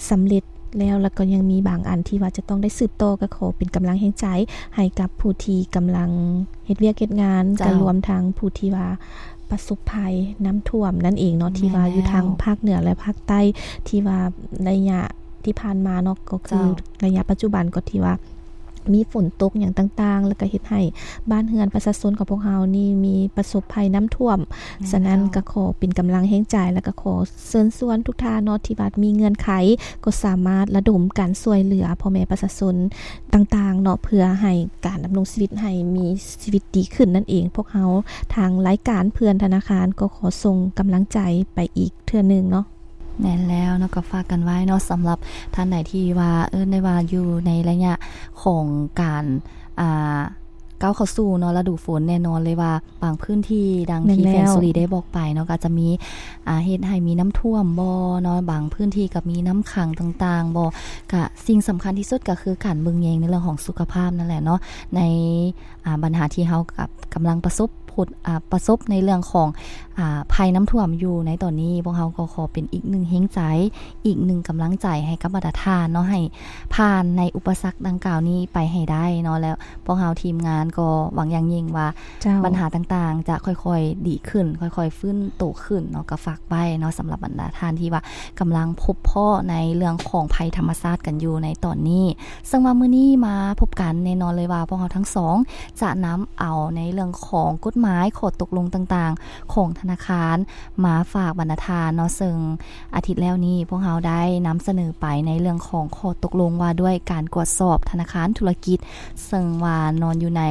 ສຳເລັດແລ້ວ ແລ້ວກໍຍັງມີບາງອັນທີ່ວ່າຈະຕ້ອງໄດ້ສືບຕໍ່ ກໍຂໍເປັນກຳລັງແຮງໃຈໃຫ້ກັບຜູ້ທີ່ກຳລັງເຮັດວຽກເຮັດງານ ເຈົ້າ ກໍລວມທັງຜູ້ທີ່ວ່າປະສົບໄພນ້ຳຖ້ວມນັ້ນເອງເນາະ ແມ່ນແລ້ວ ທີ່ວ່າຢູ່ທາງພາກເໜືອ ແລະ ພາກໃຕ້ ທີ່ວ່າໄລຍະທີ່ຜ່ານມາເນາະ ກໍຄື ເຈົ້າ ໄລຍະປັດຈຸບັນກໍທີ່ວ່າ ມີຝົນຕົກຫຍັງຕ່າງໆ ແລ້ວກໍເຮັດໃຫ້ບ້ານເຮືອນປະຊາຊົນຂອງພວກເຮົານີ້ມີປະສົບໄພນ້ຳຖ້ວມ. ແມ່ນແລ້ວ ສະນັ້ນກໍຂໍເປັນກຳລັງແຮງໃຈ ແລ້ວກໍຂໍເຊີນຊວນທຸກທ່ານເນາະ ທີ່ວ່າມີເງື່ອນໄຂ ກໍສາມາດລະດົມການຊ່ວຍເຫຼືອພໍ່ແມ່ປະຊາຊົນຕ່າງໆເນາະ ເພື່ອໃຫ້ການດຳລົງຊີວິດໃຫ້ມີຊີວິດດີຂຶ້ນນັ້ນເອງ. ພວກເຮົາທາງລາຍການເພື່ອນທະນາຄານ ກໍຂໍສົ່ງກຳລັງໃຈໄປອີກເທື່ອໜຶ່ງເນາະ. ແມ່ນແລ້ວເນາະ ກໍຝາກກັນໄວ້ເນາະ ສຳລັບທ່ານໃດທີ່ວ່າ ເອີ້ນໄດ້ວ່າຢູ່ໃນໄລຍະຂອງການ ອ່າ ກ້າວເຂົ້າສູ່ເນາະ ລະດູຝົນ ແນ່ນອນເລີຍວ່າບາງພື້ນທີ່ ດັ່ງທີ່ ແມ່ນແລ້ວ ແຟນສຸລີໄດ້ບອກໄປເນາະ ກໍອາດຈະມີ ອ່າ ເຮັດໃຫ້ມີນ້ຳຖ້ວມບໍ່ເນາະ ບາງພື້ນທີ່ກໍມີນ້ຳຂັງຕ່າງໆບໍ່ ກະສິ່ງສຳຄັນທີ່ສຸດກໍຄືການເບິ່ງແຍງໃນເລື່ອງຂອງສຸຂະພາບນັ້ນແຫຼະເນາະ ໃນ ອ່າ ບັນຫາທີ່ເຮົາກັບ ກຳລັງປະສົບພົດ ອ່າ ປະສົບໃນເລື່ອງຂອງ ອ່າ ໄພນ້ຳຖ້ວມຢູ່ໃນຕອນນີ້ ພວກເຮົາກໍຂໍເປັນອີກໜຶ່ງແຮງໃຈ ອີກໜຶ່ງກຳລັງໃຈໃຫ້ກັບບັນດາທ່ານເນາະ ໃຫ້ຜ່ານໃນອຸປະສັກດັ່ງກ່າວນີ້ໄປໃຫ້ໄດ້ເນາະ ແລ້ວພວກເຮົາທີມງານກໍຫວັງຢ່າງຍິ່ງວ່າ ເຈົ້າ ບັນຫາຕ່າງໆຈະຄ່ອຍໆດີຂຶ້ນ ຄ່ອຍໆຟື້ນໂຕຂຶ້ນເນາະ ກໍຝາກໄວ້ເນາະ ສຳລັບບັນດາທ່ານທີ່ວ່າກຳລັງພົບເພາະໃນເລື່ອງຂອງໄພທຳມະຊາດກັນຢູ່ໃນຕອນນີ້. ເຊິ່ງວ່າມື້ນີ້ມາພົບກັນ ແນ່ນອນເລີຍວ່າພວກເຮົາທັງສອງຈະນຳເອົາໃນເລື່ອງຂອງກົດໝາຍ ຂໍ້ຕົກລົງຕ່າງໆຂອງທະນາຄານມາຝາກບັນດາທ່ານເນາະ ເຊິ່ງອາທິດແລ້ວນີ້ພວກເຮົາໄດ້ນຳສະເໜີໄປໃນເລື່ອງຂອງຂໍ້ຕົກລົງວ່າດ້ວຍການກວດສອບທະນາຄານທຸລະກິດ ເຊິ່ງວ່ານອນຢູ່ໃນ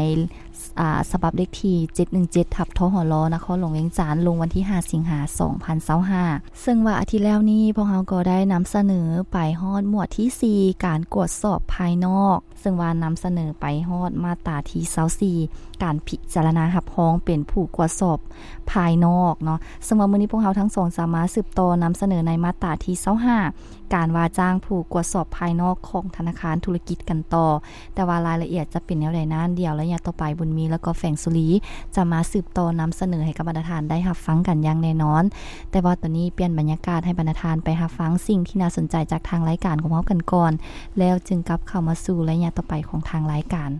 ອາ ສະບັບເລກທີເຈັດໜຶ່ງເຈັດ ທັບ ທຫລ ນະຄອນຫຼວງວຽງຈັນ ລົງວັນທີຫ້າ ສິງຫາ ສອງພັນຊາວຫ້າ ເຊິ່ງວ່າອາທິດແລ້ວນີ້ ພວກເຮົາກໍໄດ້ນຳສະເໜີໄປຮອດໝວດທີສີ່ ການກວດສອບພາຍນອກ ເຊິ່ງວ່ານຳສະເໜີໄປຮອດມາດຕາທີຊາວສີ່ ການພິຈາລະນາຮັບຮອງເປັນຜູ້ກວດສອບພາຍນອກເນາະ ເຊິ່ງວ່າມື້ນີ້ພວກເຮົາທັງສອງຈະມາສືບຕໍ່ນຳສະເໜີໃນມາດຕາທີຊາວຫ້າ ການວ່າຈ້າງຜູ້ກວດສອບພາຍນອກຂອງທະນາຄານທຸລະກິດກັນຕໍ່ ແຕ່ວ່າລາຍລະອຽດຈະເປັນແນວໃດນັ້ນ ດຽວໄລຍະຕໍ່ໄປ ບຸນມີ ແລ້ວກໍແຟນສຸລີ ຈະມາສືບຕໍ່ນຳສະເໜີໃຫ້ກັບບັນດາທ່ານໄດ້ຮັບຟັງກັນຢ່າງແນ່ນອນ. ແຕ່ວ່າຕອນນີ້ປ່ຽນບັນຍາກາດໃຫ້ບັນດາທ່ານໄປຮັບຟັງສິ່ງທີ່ໜ້າສົນໃຈຈາກທາງລາຍການຂອງເຮົາກັນກ່ອນ ແລ້ວຈຶ່ງກັບເຂົ້າມາສູ່ໄລຍະຕໍ່ໄປຂອງທາງລາຍການ.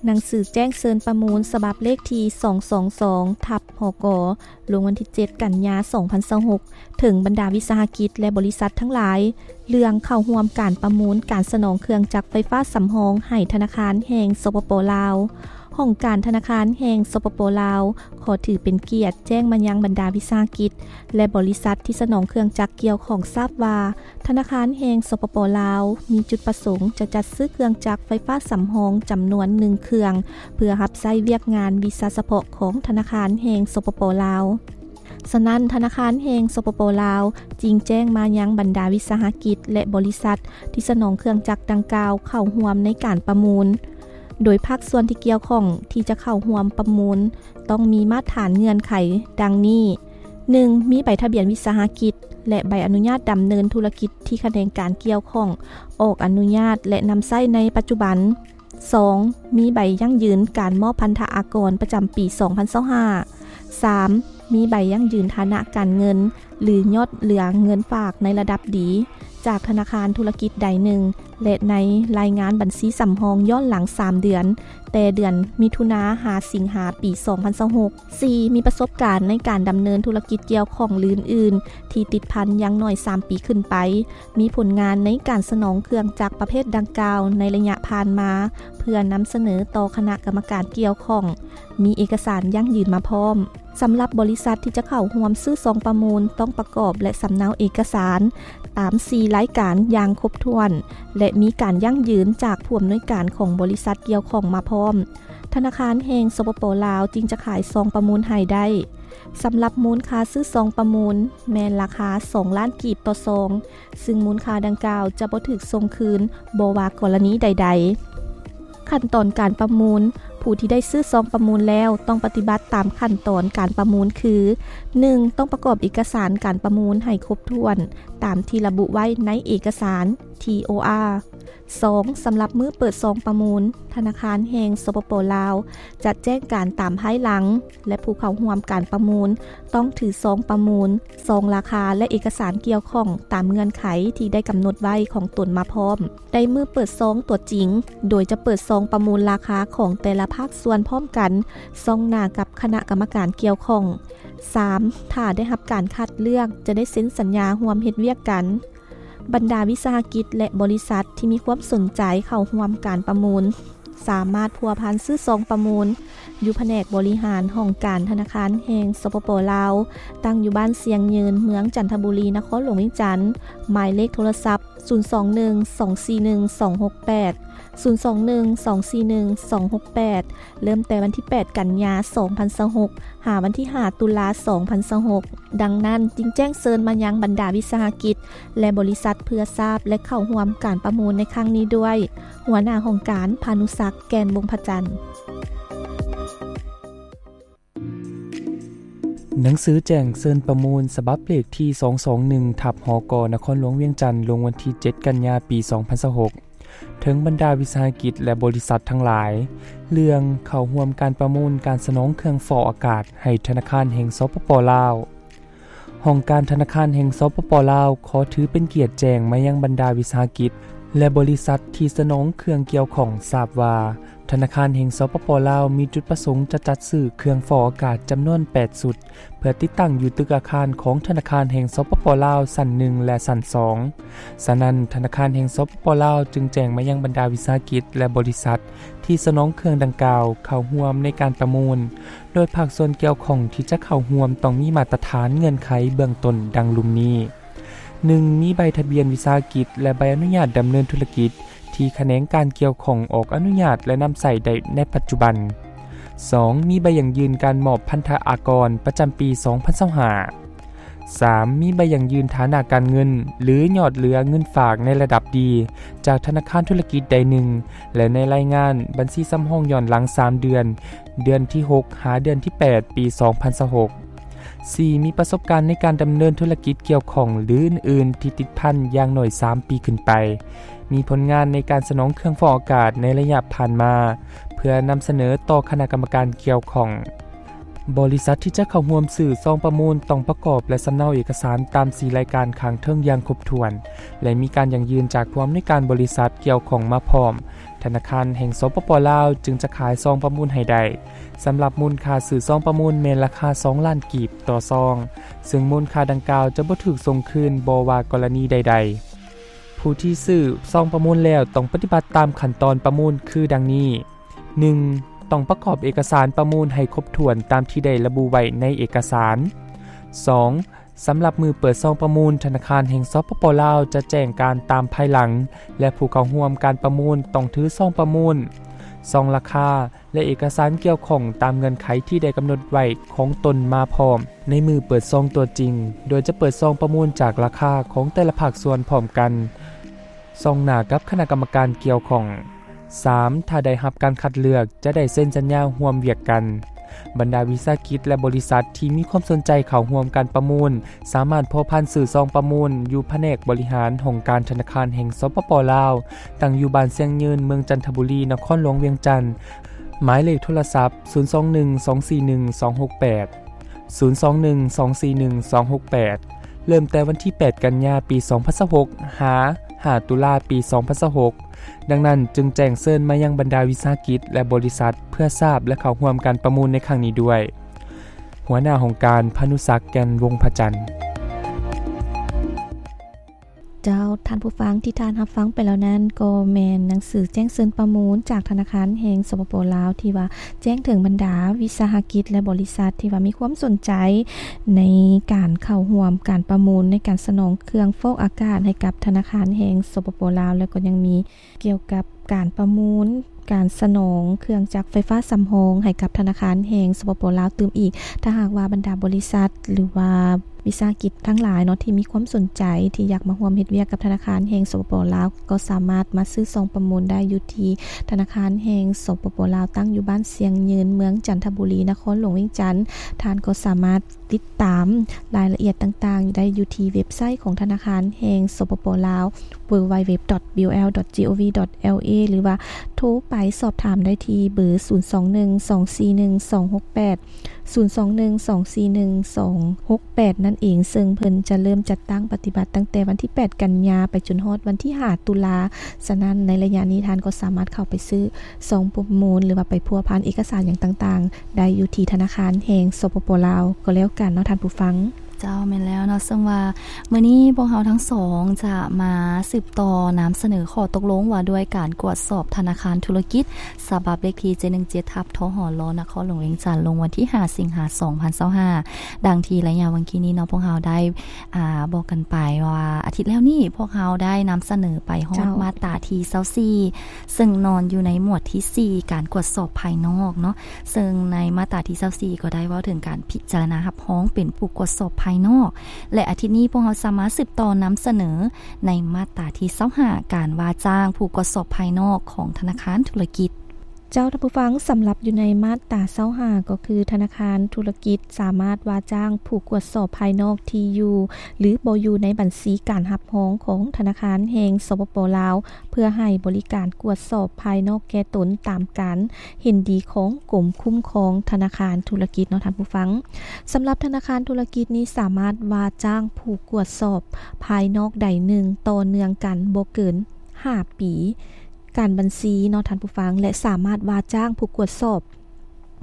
ໜັງສືແຈ້ງເຊີນປະມູນ ສະບັບເລກທີສອງສອງສອງ ທັບ ຫກ ລົງວັນທີເຈັດ ກັນຍາ ສອງພັນຊາວຫົກ ເຖິງບັນດາວິສາຫະກິດ ແລະ ບໍລິສັດທັງຫຼາຍ ເລື່ອງເຂົ້າຮ່ວມການປະມູນການສະໜອງເຄື່ອງຈັກໄຟຟ້າສຳຮອງໃຫ້ທະນາຄານແຫ່ງ ສປປ ລາວ. ຫ້ອງການທະນາຄານແຫ່ງ ສປປ ລາວ ຂໍຖືເປັນກຽດແຈ້ງມາຍັງບັນດາວິສາຫະກິດ ແລະ ບໍລິສັດທີ່ສະໜອງເຄື່ອງຈັກກ່ຽວຂ້ອງຊາບວ່າ ທະນາຄານແຫ່ງ ສປປ ລາວ ມີຈຸດປະສົງຈະຈັດຊື້ເຄື່ອງຈັກໄຟຟ້າສຳຮອງຈຳນວນໜຶ່ງເຄື່ອງ ເພື່ອຮັບໃຊ້ວຽກງານວິຊາສະເພາະຂອງທະນາຄານແຫ່ງ ສປປ ລາວ. ສະນັ້ນ ທະນາຄານແຫ່ງ ສປປ ລາວ ຈຶ່ງແຈ້ງມາຍັງບັນດາວິສາຫະກິດ ແລະ ບໍລິສັດທີ່ສະໜອງເຄື່ອງຈັກດັ່ງກ່າວເຂົ້າຮ່ວມໃນການປະມູນ, ໂດຍພາກສ່ວນທີ່ກ່ຽວຂ້ອງທີ່ຈະເຂົ້າຮ່ວມປະມູນ ຕ້ອງມີມາດຖານເງື່ອນໄຂດັ່ງນີ້: ໜຶ່ງ ມີໃບທະບຽນວິສາຫະກິດ ແລະ ໃບອະນຸຍາດດຳເນີນທຸລະກິດທີ່ຂະແໜງການກ່ຽວຂ້ອງອອກອະນຸຍາດ ແລະ ນຳໃຊ້ໃນປັດຈຸບັນ. ສອງ ມີໃບຢັ້ງຢືນການມອບພັນທະອາກອນປະຈຳປີສອງພັນຊາວຫ້າ. ສາມ ມີໃບຢັ້ງຢືນຖານະການເງິນ ຫຼື ຍອດເຫຼືອເງິນຝາກໃນລະດັບດີ ຈາກທະນາຄານທຸລະກິດໃດໜຶ່ງ ແລະ ໃນລາຍງານບັນຊີສຳຮອງຍ້ອນຫຼັງສາມເດືອນ ແຕ່ເດືອນມິຖຸນາ ຫາ ສິງຫາ ປີສອງພັນຊາວຫົກ. ສີ່ ມີປະສົບການໃນການດຳເນີນທຸລະກິດກ່ຽວຂ້ອງ ຫຼື ອື່ນໆ ທີ່ຕິດພັນຢ່າງໜ້ອຍສາມປີຂຶ້ນໄປ, ມີຜົນງານໃນການສະໜອງເຄື່ອງຈັກປະເພດດັ່ງກ່າວໃນໄລຍະຜ່ານມາ ເພື່ອນຳສະເໜີຕໍ່ຄະນະກຳມະການກ່ຽວຂ້ອງ, ມີເອກະສານຢັ້ງຢືນມາພ້ອມ. ສຳລັບບໍລິສັດທີ່ຈະເຂົ້າຮ່ວມຊື້ຊອງປະມູນ ຕ້ອງປະກອບ ແລະ ສຳເນົາເອກະສານຕາມສີ່ລາຍການຢ່າງຄົບຖ້ວນ ແລະ ມີການຢັ້ງຢືນຈາກຜູ້ອຳນວຍການຂອງບໍລິສັດກ່ຽວຂ້ອງມາພ້ອມ, ທະນາຄານແຫ່ງ ສປປ ລາວ ຈຶ່ງຈະຂາຍຊອງປະມູນໃຫ້ໄດ້. ສຳລັບມູນຄ່າຊື້ຊອງປະມູນ ແມ່ນລາຄາສອງລ້ານກີບຕໍ່ຊອງ, ຊຶ່ງມູນຄ່າດັ່ງກ່າວຈະບໍ່ຖືກສົ່ງຄືນ ບໍ່ວ່າກໍລະນີໃດໆ. ຂັ້ນຕອນການປະມູນ, ຜູ້ທີ່ໄດ້ຊື້ຊອງປະມູນແລ້ວ ຕ້ອງປະຕິບັດຕາມຂັ້ນຕອນການປະມູນຄື: ໜຶ່ງ ຕ້ອງປະກອບເອກະສານການປະມູນໃຫ້ຄົບຖ້ວນຕາມທີ່ລະບຸໄວ້ໃນເອກະສານ. ທີ ໂອ ອາ ສອງ ສຳລັບມື້ເປີດຊອງປະມູນ, ທະນາຄານແຫ່ງ ສປປ ລາວ ຈະແຈ້ງການຕາມພາຍຫຼັງ ແລະ ຜູ້ເຂົ້າຮ່ວມການປະມູນຕ້ອງຖືຊອງປະມູນ, ຊອງລາຄາ ແລະ ເອກະສານກ່ຽວຂ້ອງຕາມເງື່ອນໄຂທີ່ໄດ້ກຳນົດໄວ້ຂອງຕົນມາພ້ອມ ໃນມື້ເປີດຊອງຕົວຈິງ, ໂດຍຈະເປີດຊອງປະມູນລາຄາຂອງແຕ່ລະພາກສ່ວນພ້ອມກັນ, ສ່ອງໜ້າກັບຄະນະກຳມະການກ່ຽວຂ້ອງ. ສາມ ຖ້າໄດ້ຮັບການຄັດເລືອກ, ຈະໄດ້ເຊັນສັນຍາຮ່ວມເຮັດວຽກກັນ. ບັນດາວິສາຫະກິດ ແລະ ບໍລິສັດທີ່ມີຄວາມສົນໃຈເຂົ້າຮ່ວມການປະມູນ ສາມາດພົວພັນຊື້ຊອງປະມູນ ຢູ່ພະແນກບໍລິຫານຫ້ອງການທະນາຄານແຫ່ງ ສປປ ລາວ, ຕັ້ງຢູ່ບ້ານຊຽງຍືນ, ເມືອງຈັນທະບູລີ, ນະຄອນຫຼວງວຽງຈັນ, ໝາຍເລກໂທລະສັບ ສູນສອງໜຶ່ງ ສອງສີ່ໜຶ່ງ ສອງຫົກແປດ, ສູນສອງໜຶ່ງ ສອງສີ່ໜຶ່ງ ສອງຫົກແປດ ເລີ່ມແຕ່ວັນທີແປດ ກັນຍາ ສອງພັນຊາວຫົກ ຫາວັນທີຫ້າ ຕຸລາ ສອງພັນຊາວຫົກ. ດັ່ງນັ້ນ, ຈຶ່ງແຈ້ງເຊີນມາຍັງບັນດາວິສາຫະກິດ ແລະ ບໍລິສັດ ເພື່ອຊາບ ແລະ ເຂົ້າຮ່ວມການປະມູນໃນຄັ້ງນີ້ດ້ວຍ. ຫົວໜ້າຫ້ອງການ ພານຸສັກ ແກ່ນວົງພະຈັນ. ໜັງສືແຈ້ງເຊີນປະມູນ ສະບັບເລກທີສອງສອງໜຶ່ງ ທັບ ຫກ ນະຄອນຫຼວງວຽງຈັນ ລົງວັນທີເຈັດ ກັນຍາ ປີສອງພັນຊາວຫົກ ເຖິງບັນດາວິສາຫະກິດ ແລະ ບໍລິສັດທັງຫຼາຍ ເລື່ອງເຂົ້າຮ່ວມການປະມູນການສະໜອງເຄື່ອງຟອກອາກາດໃຫ້ທະນາຄານແຫ່ງ ສປປ ລາວ. ຫ້ອງການທະນາຄານແຫ່ງ ສປປ ລາວ ຂໍຖືເປັນກຽດແຈ້ງມາຍັງບັນດາວິສາຫະກິດ ແລະ ບໍລິສັດທີ່ສະໜອງເຄື່ອງກ່ຽວຂ້ອງ ຊາບວ່າ ທະນາຄານແຫ່ງ ສປປ ລາວ ມີຈຸດປະສົງຈະຈັດຊື້ເຄື່ອງຟອກອາກາດຈຳນວນແປດຊຸດ ເພື່ອຕິດຕັ້ງຢູ່ຕຶກອາຄານຂອງທະນາຄານແຫ່ງ ສປປ ລາວ ຊັ້ນໜຶ່ງ ແລະ ຊັ້ນສອງ. ສະນັ້ນ, ທະນາຄານແຫ່ງ ສປປ ລາວ ຈຶ່ງແຈ້ງມາຍັງບັນດາວິສາຫະກິດ ແລະ ບໍລິສັດທີ່ສະໜອງເຄື່ອງດັ່ງກ່າວເຂົ້າຮ່ວມໃນການປະມູນ, ໂດຍພາກສ່ວນກ່ຽວຂ້ອງທີ່ຈະເຂົ້າຮ່ວມຕ້ອງມີມາດຕະຖານເງື່ອນໄຂເບື້ອງຕົ້ນດັ່ງລຸ່ມນີ້. ໜຶ່ງ ມີໃບທະບຽນວິສາຫະກິດ ແລະ ໃບອະນຸຍາດດຳເນີນທຸລະກິດ ທີ່ຂະແໜງການກ່ຽວຂ້ອງອອກອະນຸຍາດ ແລະ ນຳໃຊ້ໄດ້ໃນປັດຈຸບັນ. ສອງ ມີໃບຢັ້ງຢືນການມອບພັນທະອາກອນປະຈຳປີສອງພັນຊາວຫ້າ. ສາມ ມີໃບຢັ້ງຢືນຖານະການເງິນ ຫຼື ຍອດເຫຼືອເງິນຝາກໃນລະດັບດີ ຈາກທະນາຄານທຸລະກິດໃດໜຶ່ງ ແລະ ໃນລາຍງານບັນຊີສຳຮອງຍ້ອນຫຼັງສາມເດືອນ, ເດືອນທີຫົກ ຫາເດືອນທີແປດ ປີສອງພັນຊາວຫົກ. ສີ່ ມີປະສົບການໃນການດຳເນີນທຸລະກິດກ່ຽວຂ້ອງ ຫຼື ອື່ນໆ ທີ່ຕິດພັນຢ່າງໜ້ອຍສາມປີຂຶ້ນໄປ, ມີຜົນງານໃນການສະໜອງເຄື່ອງຟອກອາກາດໃນໄລຍະຜ່ານມາ ເພື່ອນຳສະເໜີຕໍ່ຄະນະກຳມະການກ່ຽວຂ້ອງ. ບໍລິສັດທີ່ຈະເຂົ້າຮ່ວມຊື້ຊອງປະມູນຕ້ອງປະກອບ ແລະ ສຳເນົາເອກະສານຕາມສີ່ລາຍການຂ້າງເທິງຢ່າງຄົບຖ້ວນ ແລະ ມີການຢັ້ງຢືນຈາກຜູ້ອຳນວຍການບໍລິສັດກ່ຽວຂ້ອງມາພ້ອມ. ທະນາຄານແຫ່ງ ສປປ ລາວ ຈຶ່ງຈະຂາຍຊອງປະມູນໃຫ້ໄດ້. ສຳລັບມູນຄ່າຊື້ຊອງປະມູນແມ່ນລາຄາສອງລ້ານກີບຕໍ່ຊອງ, ເຊິ່ງມູນຄ່າດັ່ງກ່າວຈະບໍ່ຖືກສົ່ງຄືນບໍ່ວ່າກໍລະນີໃດໆ. ຜູ້ທີ່ຊື້ຊອງປະມູນແລ້ວຕ້ອງປະຕິບັດຕາມຂັ້ນຕອນປະມູນຄືດັ່ງນີ້: ໜຶ່ງ ຕ້ອງປະກອບເອກະສານປະມູນໃຫ້ຄົບຖ້ວນຕາມທີ່ໄດ້ລະບຸໄວ້ໃນເອກະສານ. ສອງ ສຳລັບມື້ເປີດຊອງປະມູນ, ທະນາຄານແຫ່ງ ສປປ ລາວ ຈະແຈ້ງການຕາມພາຍຫຼັງ ແລະ ຜູ້ເຂົ້າຮ່ວມການປະມູນຕ້ອງຖືຊອງປະມູນ, ຊອງລາຄາ ແລະ ເອກະສານກ່ຽວຂ້ອງຕາມເງື່ອນໄຂທີ່ໄດ້ກຳນົດໄວ້ຂອງຕົນມາພ້ອມໃນມື້ເປີດຊອງຕົວຈິງ, ໂດຍຈະເປີດຊອງປະມູນຈາກລາຄາຂອງແຕ່ລະພາກສ່ວນພ້ອມກັນ, ສ່ອງໜ້າກັບຄະນະກຳມະການກ່ຽວຂ້ອງ. ສາມ ຖ້າໄດ້ຮັບການຄັດເລືອກ, ຈະໄດ້ເຊັນສັນຍາຮ່ວມວຽກກັນ. ບັນດາວິສາຫະກິດ ແລະ ບໍລິສັດທີ່ມີຄວາມສົນໃຈເຂົ້າຮ່ວມການປະມູນ ສາມາດພົວພັນຊື້ຊອງປະມູນຢູ່ພະແນກບໍລິຫານຫ້ອງການທະນາຄານແຫ່ງ ສປປ ລາວ, ຕັ້ງຢູ່ບ້ານຊຽງຍືນ, ເມືອງຈັນທະບູລີ, ນະຄອນຫຼວງວຽງຈັນ, ໝາຍເລກໂທລະສັບ ສູນສອງໜຶ່ງ ສອງສີ່ໜຶ່ງ ສອງຫົກແປດ, ສູນສອງໜຶ່ງ ສອງສີ່ໜຶ່ງ ສອງຫົກແປດ ເລີ່ມແຕ່ວັນທີແປດ ກັນຍາ ປີສອງພັນຊາວຫົກ ຫາ ຫ້າ ຕຸລາ ປີສອງພັນຊາວຫົກ. ດັ່ງນັ້ນ, ຈຶ່ງແຈ້ງເຊີນມາຍັງບັນດາວິສາຫະກິດ ແລະ ບໍລິສັດ ເພື່ອຊາບ ແລະ ເຂົ້າຮ່ວມການປະມູນໃນຄັ້ງນີ້ດ້ວຍ. ຫົວໜ້າຫ້ອງການ ພານຸສັກ ແກ່ນວົງພະຈັນ. ເຈົ້າ, ທ່ານຜູ້ຟັງ ທີ່ທ່ານຮັບຟັງໄປແລ້ວນັ້ນ ກໍແມ່ນໜັງສືແຈ້ງເຊີນປະມູນຈາກທະນາຄານແຫ່ງ ສປປ ລາວ ທີ່ວ່າແຈ້ງເຖິງບັນດາວິສາຫະກິດ ແລະ ບໍລິສັດ ທີ່ວ່າມີຄວາມສົນໃຈໃນການເຂົ້າຮ່ວມການປະມູນໃນການສະໜອງເຄື່ອງຟອກອາກາດໃຫ້ກັບທະນາຄານແຫ່ງ ສປປ ລາວ ແລ້ວກໍຍັງມີ ກ່ຽວກັບການປະມູນການສະໜອງເຄື່ອງຈັກໄຟຟ້າສຳຮອງໃຫ້ກັບທະນາຄານແຫ່ງ ສປປ ລາວ ຕື່ມອີກ. ຖ້າຫາກວ່າບັນດາບໍລິສັດ ຫຼືວ່າວິສາຫະກິດທັງຫຼາຍເນາະ ທີ່ມີຄວາມສົນໃຈທີ່ຢາກມາຮ່ວມເຮັດວຽກກັບທະນາຄານແຫ່ງ ສປປ ລາວ ກໍສາມາດມາຊື້ຊອງປະມູນໄດ້ຢູ່ທີ່ທະນາຄານແຫ່ງ ສປປ ລາວ ຕັ້ງຢູ່ບ້ານຊຽງຍືນ ເມືອງຈັນທະບູລີ ນະຄອນຫຼວງວຽງຈັນ. ທ່ານກໍສາມາດ ຕິດຕາມລາຍລະອຽດຕ່າງໆ ໄດ້ຢູ່ທີ່ເວັບໄຊຂອງທະນາຄານແຫ່ງ ສປປ ລາວ www.bol.gov.la ຫຼືວ່າໂທໄປສອບຖາມໄດ້ທີ່ເບີ ສູນສອງໜຶ່ງ ສອງສີ່ໜຶ່ງ ສອງຫົກແປດ ສູນສອງໜຶ່ງ ສອງສີ່ໜຶ່ງ ສອງຫົກແປດ ນັ້ນເອງ, ເຊິ່ງເພິ່ນຈະເລີ່ມຈັດຕັ້ງປະຕິບັດຕັ້ງແຕ່ວັນທີແປດ ກັນຍາ ໄປຈົນຮອດວັນທີຫ້າ ຕຸລາ. ສະນັ້ນ ໃນໄລຍະນີ້ທ່ານກໍສາມາດເຂົ້າໄປຊື້ຊອງປະມູນ ຫຼືວ່າໄປພົວພັນເອກະສານຫຍັງຕ່າງໆ ໄດ້ຢູ່ທີ່ທະນາຄານແຫ່ງ ສປປ ລາວ ກໍແລ້ວກັນເນາະທ່ານຜູ້ຟັງ. ເຈົ້າ ແມ່ນແລ້ວເນາະ, ເຊິ່ງວ່າມື້ນີ້ພວກເຮົາທັງສອງຈະມາສືບຕໍ່ນຳສະເໜີຂໍ້ຕົກລົງວ່າດ້ວຍການກວດສອບທະນາຄານທຸລະກິດ ສະບັບເລກທີ ເຈັດໜຶ່ງເຈັດ ທັບ ທຫລ ນະຄອນຫຼວງວຽງຈັນ ລົງວັນທີຫ້າ ສິງຫາ ສອງພັນຊາວຫ້າ. ດັ່ງທີ່ໄລຍະຫວ່າງກີ້ນີ້ເນາະ ພວກເຮົາໄດ້ ອ່າ ບອກກັນໄປວ່າອາທິດແລ້ວນີ້ ພວກເຮົາໄດ້ນຳສະເໜີໄປຮອດ ເຈົ້າ ມາດຕາທີຊາວສີ່ ເຊິ່ງນອນຢູ່ໃນໝວດທີສີ່ ການກວດສອບພາຍນອກເນາະ, ເຊິ່ງໃນມາດຕາທີຊາວສີ່ ກໍໄດ້ເວົ້າເຖິງການພິຈາລະນາຮັບຮອງເປັນຜູ້ກວດສອບພາຍນອກ ແລະ ອາທິດນີ້ພວກເຮົາສາມາດສືບຕໍ່ນຳສະເໜີໃນມາດຕາທີຊາວຫ້າ ການວ່າຈ້າງຜູ້ກວດສອບພາຍນອກຂອງທະນາຄານທຸລະກິດ. ເຈົ້າທ່ານຜູ້ຟັງ, ສຳລັບຢູ່ໃນມາດຕາຊາວຫ້າ ກໍຄືທະນາຄານທຸລະກິດສາມາດວ່າຈ້າງຜູ້ກວດສອບພາຍນອກທີ່ຢູ່ ຫຼື ບໍ່ຢູ່ໃນບັນຊີການຮັບຮອງຂອງທະນາຄານແຫ່ງ ສປປ ລາວ ເພື່ອໃຫ້ບໍລິການກວດສອບພາຍນອກແກ່ຕົນຕາມການເຫັນດີຂອງກົມຄຸ້ມຄອງທະນາຄານທຸລະກິດເນາະທ່ານຜູ້ຟັງ. ສຳລັບທະນາຄານທຸລະກິດນີ້ສາມາດວ່າຈ້າງຜູ້ກວດສອບພາຍນອກໃດໜຶ່ງຕໍ່ເນື່ອງກັນບໍ່ເກີນຫ້າປີ ການບັນຊີເນາະທ່ານຜູ້ຟັງ ແລະ ສາມາດວ່າຈ້າງຜູ້ກວດສອບ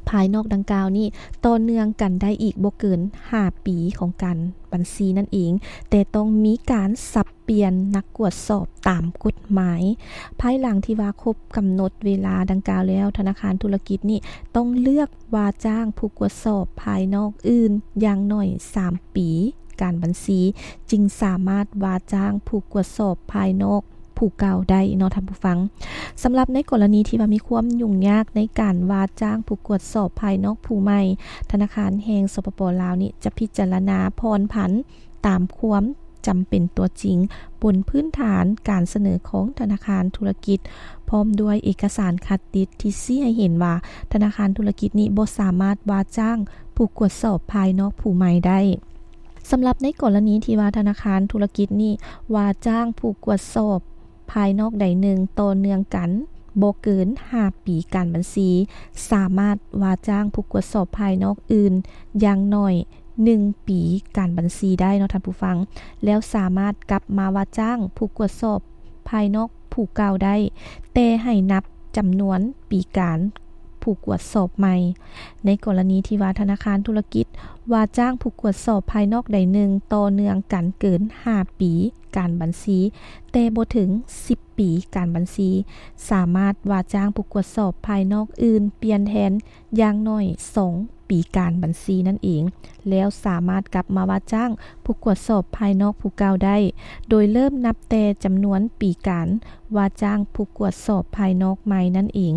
ພາຍນອກດັ່ງກ່າວນີ້ຕໍ່ເນື່ອງກັນໄດ້ອີກບໍ່ເກີນຫ້າປີຂອງການບັນຊີນັ້ນເອງ, ແຕ່ຕ້ອງມີການສັບປ່ຽນນັກກວດສອບຕາມກົດໝາຍ. ພາຍຫຼັງທີ່ວ່າຄົບກຳນົດເວລາດັ່ງກ່າວແລ້ວ, ທະນາຄານທຸລະກິດນີ້ຕ້ອງເລືອກວ່າຈ້າງຜູ້ກວດສອບພາຍນອກອື່ນຢ່າງໜ້ອຍສາມປີການບັນຊີ ຈຶ່ງສາມາດວ່າຈ້າງຜູ້ກວດສອບພາຍນອກ ຜູ້ເກົ່າໄດ້ເນາະທ່ານຜູ້ຟັງ. ສຳລັບໃນກໍລະນີທີ່ວ່າມີຄວາມຫຍຸ້ງຍາກໃນການວ່າຈ້າງຜູ້ກວດສອບພາຍນອກຜູ້ໃໝ່, ທະນາຄານແຫ່ງ ສປປ ລາວ ນີ້ຈະພິຈາລະນາຜ່ອນຜັນຕາມຄວາມຈຳເປັນຕົວຈິງ ບົນພື້ນຖານການສະເໜີຂອງທະນາຄານທຸລະກິດ ພ້ອມດ້ວຍເອກະສານຄັດຕິດທີ່ຊີ້ໃຫ້ເຫັນວ່າທະນາຄານທຸລະກິດນີ້ບໍ່ສາມາດວ່າຈ້າງຜູ້ກວດສອບພາຍນອກຜູ້ໃໝ່ໄດ້. ສຳລັບໃນກໍລະນີທີ່ວ່າທະນາຄານທຸລະກິດນີ້ວ່າຈ້າງຜູ້ກວດສອບພາຍນອກໃດໜຶ່ງຕໍ່ເນື່ອງກັນບໍ່ເກີນຫ້າປີການບັນຊີ, ສາມາດວ່າຈ້າງຜູ້ກວດສອບພາຍນອກອື່ນຢ່າງໜ້ອຍໜຶ່ງປີການບັນຊີໄດ້ເນາະທ່ານຜູ້ຟັງ, ແລ້ວສາມາດກັບມາວ່າຈ້າງຜູ້ກວດສອບພາຍນອກຜູ້ເກົ່າໄດ້, ແຕ່ໃຫ້ນັບຈຳນວນປີການ ຜູ້ກວດສອບໃໝ່. ໃນກໍລະນີທີ່ວ່າທະນາຄານທຸລະກິດວ່າຈ້າງຜູ້ກວດສອບພາຍນອກໃດໜຶ່ງຕໍ່ເນື່ອງກັນເກີນຫ້າປີການບັນຊີ ແຕ່ບໍ່ເຖິງສິບປີການບັນຊີ, ສາມາດວ່າຈ້າງຜູ້ກວດສອບພາຍນອກອື່ນປ່ຽນແທນຢ່າງໜ້ອຍສອງປີການບັນຊີນັ້ນເອງ, ແລ້ວສາມາດກັບມາວ່າຈ້າງຜູ້ກວດສອບພາຍນອກຜູ້ເກົ່າໄດ້, ໂດຍເລີ່ມນັບແຕ່ຈຳນວນປີການ ວ່າຈ້າງຜູ້ກວດສອບພາຍນອກໃໝ່ນັ້ນເອງ.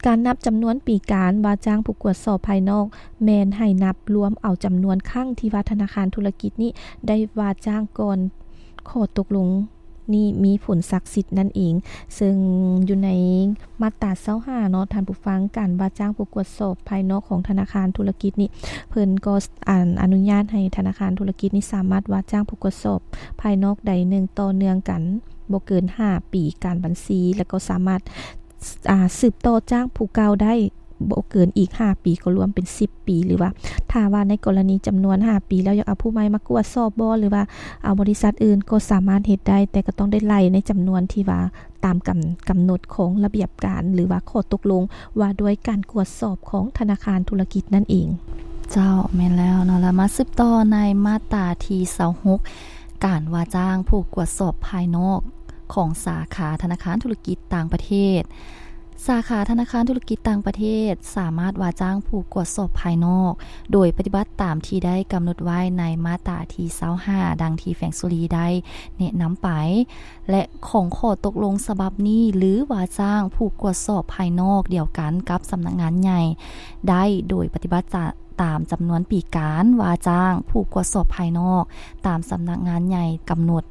ການນັບຈຳນວນປີການວ່າຈ້າງຜູ້ກວດສອບພາຍນອກ ແມ່ນໃຫ້ນັບລວມເອົາຈຳນວນຄັ້ງທີ່ວ່າທະນາຄານທຸລະກິດນີ້ໄດ້ວ່າຈ້າງກ່ອນຂໍ້ຕົກລົງນີ້ມີຜົນສັກສິດນັ້ນເອງ. ເຊິ່ງຢູ່ໃນມາດຕາຊາວຫ້າເນາະທ່ານຜູ້ຟັງ, ການວ່າຈ້າງຜູ້ກວດສອບພາຍນອກຂອງທະນາຄານທຸລະກິດນີ້ ເພິ່ນກໍ ອະ ອະນຸຍາດໃຫ້ທະນາຄານທຸລະກິດນີ້ສາມາດວ່າຈ້າງຜູ້ກວດສອບພາຍນອກໃດໜຶ່ງຕໍ່ເນື່ອງກັນບໍ່ເກີນຫ້າປີການບັນຊີ ແລ້ວກໍສາມາດ ອາ ສືບຕໍ່ຈ້າງຜູ້ເກົ່າໄດ້ບໍ່ເກີນອີກຫ້າປີ ກໍລວມເປັນສິບປີ ຫຼືວ່າຖ້າວ່າໃນກໍລະນີຈຳນວນຫ້າປີແລ້ວ ຢາກເອົາຜູ້ໃໝ່ມາກວດສອບບໍ່ ຫຼືວ່າເອົາບໍລິສັດອື່ນ ກໍສາມາດເຮັດໄດ້, ແຕ່ກໍຕ້ອງໄດ້ໄລ່ໃນຈຳນວນທີ່ວ່າ ຕາມກຳ ກຳນົດຂອງລະບຽບການ ຫຼືວ່າຂໍ້ຕົກລົງວ່າດ້ວຍການກວດສອບຂອງທະນາຄານທຸລະກິດນັ້ນເອງ. ເຈົ້າ, ແມ່ນແລ້ວເນາະ. ແລ້ວມາສືບຕໍ່ໃນມາດຕາທີຊາວຫົກ ການວ່າຈ້າງຜູ້ກວດສອບພາຍນອກຂອງສາຂາທະນາຄານທຸລະກິດຕ່າງປະເທດ. ສາຂາທະນາຄານທຸລະກິດຕ່າງປະເທດສາມາດວ່າຈ້າງຜູ້ກວດສອບພາຍນອກ ໂດຍປະຕິບັດຕາມທີ່ໄດ້ກຳນົດໄວ້ໃນມາດຕາທີຊາວຫ້າ ດັ່ງທີ່ແຂວງສຸລີໄດ້ແນະນຳໄປ. ແລະ ຂອງຂໍ້ຕົກລົງສະບັບນີ້ ຫຼື ວ່າຈ້າງຜູ້ກວດສອບພາຍນອກດຽວກັນກັບສຳນັກງານໃຫຍ່ໄດ້ ໂດຍປະຕິບັດຕາມຈຳນວນປີການວ່າຈ້າງຜູ້ກວດສອບພາຍນອກຕາມສຳນັກງານໃຫຍ່ກຳນົດ,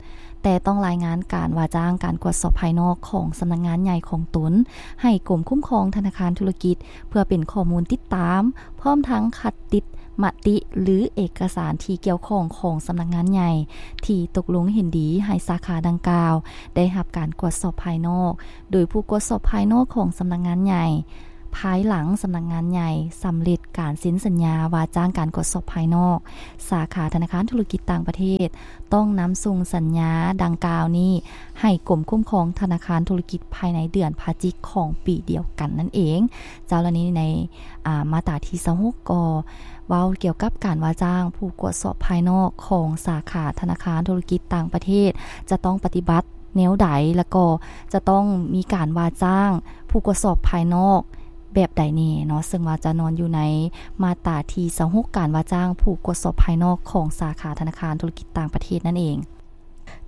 ແຕ່ຕ້ອງລາຍງານການວ່າຈ້າງການກວດສອບພາຍນອກຂອງສຳນັກງານໃຫຍ່ຂອງຕົນໃຫ້ກົມຄຸ້ມຄອງທະນາຄານທຸລະກິດ ເພື່ອເປັນຂໍ້ມູນຕິດຕາມ ພ້ອມທັງຄັດຕິດ ມະຕິ ຫຼື ເອກະສານທີ່ກ່ຽວຂ້ອງຂອງສຳນັກງານໃຫຍ່ ທີ່ຕົກລົງເຫັນດີໃຫ້ສາຂາດັ່ງກ່າວໄດ້ຮັບການກວດສອບພາຍນອກ ໂດຍຜູ້ກວດສອບພາຍນອກຂອງສຳນັກງານໃຫຍ່ ພາຍຫຼັງສຳນັກງານໃຫຍ່ສຳເລັດການເຊັນສັນຍາວ່າຈ້າງການກວດສອບພາຍນອກ ສາຂາທະນາຄານທຸລະກິດຕ່າງປະເທດ ຕ້ອງນຳສົ່ງສັນຍາດັ່ງກ່າວນີ້ໃຫ້ກົມຄຸ້ມຄອງທະນາຄານທຸລະກິດພາຍໃນເດືອນພະຈິກຂອງປີດຽວກັນນັ້ນເອງ. ເຈົ້າ ແລະ ໃນ ໃນ ອາ ມາດຕາທີຊາວຫົກກໍເວົ້າກ່ຽວກັບການວ່າຈ້າງຜູ້ກວດສອບພາຍນອກຂອງສາຂາທະນາຄານທຸລະກິດຕ່າງປະເທດ ຈະຕ້ອງປະຕິບັດແນວໃດ ແລະ ກໍຈະຕ້ອງມີການວ່າຈ້າງຜູ້ກວດສອບພາຍນອກແບບໃດແດ່ເນາະ ເຊິ່ງວ່າຈະນອນຢູ່ໃນມາດຕາທີຊາວຫົກ ການວ່າຈ້າງຜູ້ກວດສອບພາຍນອກຂອງສາຂາທະນາຄານທຸລະກິດຕ່າງປະເທດນັ້ນເອງ.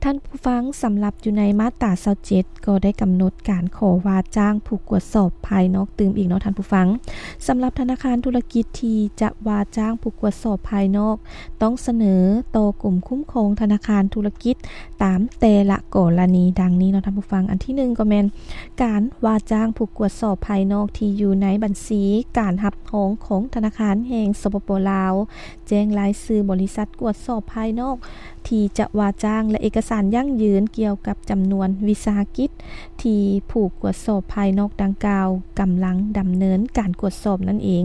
ທ່ານຜູ້ຟັງ, ສຳລັບຢູ່ໃນມາດຕາຊາວເຈັດ ກໍໄດ້ກຳນົດການຂໍວ່າຈ້າງຜູ້ກວດສອບພາຍນອກຕື່ມອີກເນາະທ່ານຜູ້ຟັງ. ສຳລັບທະນາຄານທຸລະກິດທີ່ຈະວ່າຈ້າງຜູ້ກວດສອບພາຍນອກ ຕ້ອງສະເໜີຕໍ່ກົມຄຸ້ມຄອງທະນາຄານທຸລະກິດຕາມແຕ່ລະກໍລະນີດັ່ງນີ້ເນາະທ່ານຜູ້ຟັງ. ອັນທີໜຶ່ງກໍແມ່ນການວ່າຈ້າງຜູ້ກວດສອບພາຍນອກທີ່ຢູ່ໃນບັນຊີການຮັບຮອງຂອງທະນາຄານແຫ່ງ ສປປ ລາວ ແຈ້ງລາຍຊື່ບໍລິສັດກວດສອບພາຍນອກທີ່ຈະວ່າຈ້າງ ແລະ ເອກະສານຢັ້ງຢືນກ່ຽວກັບຈຳນວນວິສາຫະກິດທີ່ຜູ້ກວດສອບພາຍນອກດັ່ງກ່າວກຳລັງດຳເນີນການກວດສອບນັ້ນເອງ.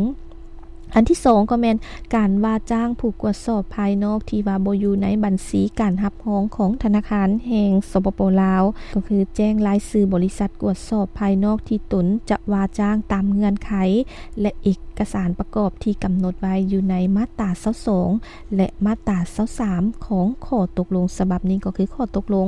ອັນທີສອງກໍແມ່ນການວ່າຈ້າງຜູ້ກວດສອບພາຍນອກທີ່ວ່າບໍ່ຢູ່ໃນບັນຊີການຮັບຮອງຂອງທະນາຄານແຫ່ງ ສປປ ລາວ ກໍຄືແຈ້ງລາຍຊື່ບໍລິສັດກວດສອບພາຍນອກທີ່ຕົນຈະວ່າຈ້າງຕາມເງື່ອນໄຂ ແລະ ເອກະສານປະກອບທີ່ກຳນົດໄວ້ຢູ່ໃນມາດຕາຊາວສອງ ແລະ ມາດຕາຊາວສາມ ຂອງຂໍ້ຕົກລົງສະບັບນີ້ ກໍຄືຂໍ້ຕົກລົງ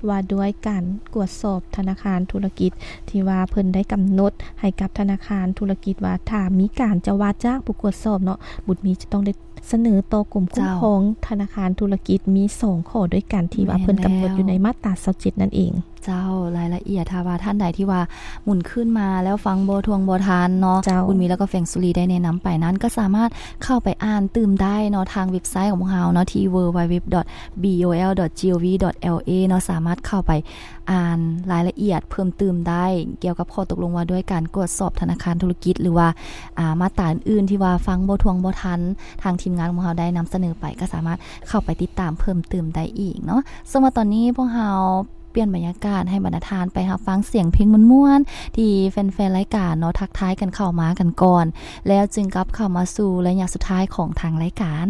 ວ່າດ້ວຍການກວດສອບທະນາຄານທຸລະກິດ ທີ່ວ່າເພິ່ນໄດ້ກຳນົດໃຫ້ກັບທະນາຄານທຸລະກິດວ່າ ຖ້າມີການຈະວ່າຈ້າງຜູ້ກວດສອບເນາະ ບຸດມີຈະຕ້ອງໄດ້ສະເໜີຕໍ່ກົມຄຸ້ມຄອງທະນາຄານທຸລະກິດ ມີສອງຂໍ້ດ້ວຍກັນທີ່ວ່າເພິ່ນກຳນົດຢູ່ໃນມາດຕາຊາວເຈັດນັ້ນເອງ. ເຈົ້າ ລາຍລະອຽດ ຖ້າວ່າທ່ານໃດທີ່ວ່າໝູນຄືນມາແລ້ວຟັງບໍ່ທ່ວງບໍ່ທັນເນາະ ເຈົ້າ ບຸນມີ ແລ້ວກໍແຟງສຸລີໄດ້ແນະນຳໄປນັ້ນ ກໍສາມາດເຂົ້າໄປອ່ານຕື່ມໄດ້ເນາະ ທາງເວັບໄຊຂອງພວກເຮົາເນາະ ທີ່ www.bol.gov.la ເນາະ ສາມາດເຂົ້າໄປອ່ານລາຍລະອຽດເພີ່ມຕື່ມໄດ້ ກ່ຽວກັບຂໍ້ຕົກລົງວ່າດ້ວຍການກວດສອບທະນາຄານທຸລະກິດ ຫຼືວ່າ ອາ ມາດຕາອື່ນໆ ທີ່ວ່າຟັງບໍ່ທ່ວງບໍ່ທັນ ທາງທີມງານຂອງເຮົາໄດ້ນຳສະເໜີໄປ ກໍສາມາດເຂົ້າໄປຕິດຕາມເພີ່ມຕື່ມໄດ້ອີກເນາະ. ເຊິ່ງວ່າຕອນນີ້ພວກເຮົາ ປ່ຽນບັນຍາກາດໃຫ້ບັນດາທ່ານໄປຮັບຟັງສຽງເພງມ່ວນໆ ທີ່ແຟນໆ ລາຍການເນາະ ທັກທາຍກັນເຂົ້າມາກັນກ່ອນ ແລ້ວຈຶ່ງກັບເຂົ້າມາສູ່ໄລຍະສຸດທ້າຍຂອງທາງລາຍການ.